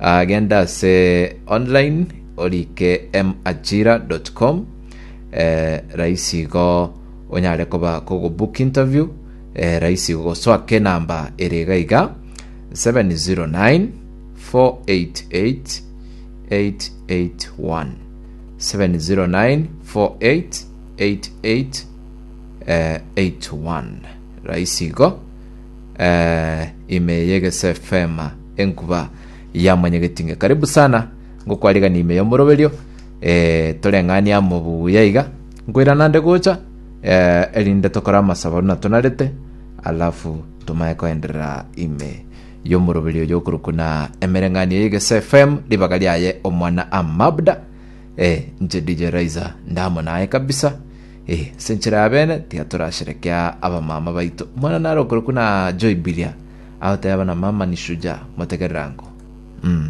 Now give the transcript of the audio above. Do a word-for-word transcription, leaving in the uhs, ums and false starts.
Ah, genda ase online orike majira.com eh, rahisi igo onyare koba kogobook interview eh, rahisi igo gosoaka enamba ere iga iga seven zero nine four eight eight eight eight one, seven zero nine four eight eight eight eh, eight one. Rahisi igo eh, ime yegese F M, enkuba yamanyegetinge. Karibu sana, ngokwarigani ime yomoroberio eh, toreng'ani amo buya iga nkoirana nde gocha eh, erinde tokore amasabo na tonarete, alafu tumaye koenderera ime yomoroberio yokorokwa na emereng'anio yegese F M, ribaga riaye omwana amabda. eh, nche D J Raiza ndamo naye kabisa eh, ase enchera ya bene tiga torasherekea abamama baito. Omwana nare okorokwa na Joy Bilia agoteba na mama ni shujaa motegererango mm.